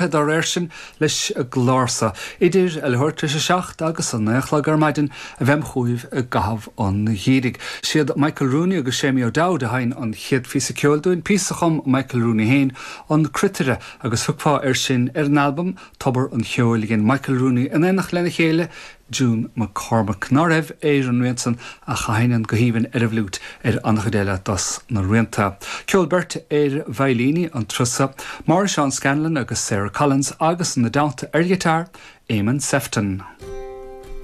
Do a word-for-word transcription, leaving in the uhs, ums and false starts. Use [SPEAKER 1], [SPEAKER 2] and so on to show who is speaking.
[SPEAKER 1] Dá réir sin leis an gclár so idir a leathuair tar éis a seacht agus a naoi a chlog ar maidin a bheam chugaibh i gcaitheamh an gheimhridh. Siad Michael Rooney agus Séimí O'Dowd a sheinn an chéad phíosa ceoil dúinn, píosa a chum Michael Rooney féin an Cruitire agus thiocfá air sin ar an albam Tobar an Cheoil a dhein Michael Rooney in éineacht lena chéile June McCormack ná raibh ar an rian san ach a sheinneann go haoibhinn ar an bhfliúit ar an-chuid eile dos na rianta. Ceol beirte ar veidhlíní an turas so, Máire Seán Scanlon agus Sarah Collins agus ina dteannta ar ghiotár Eamon Sefton.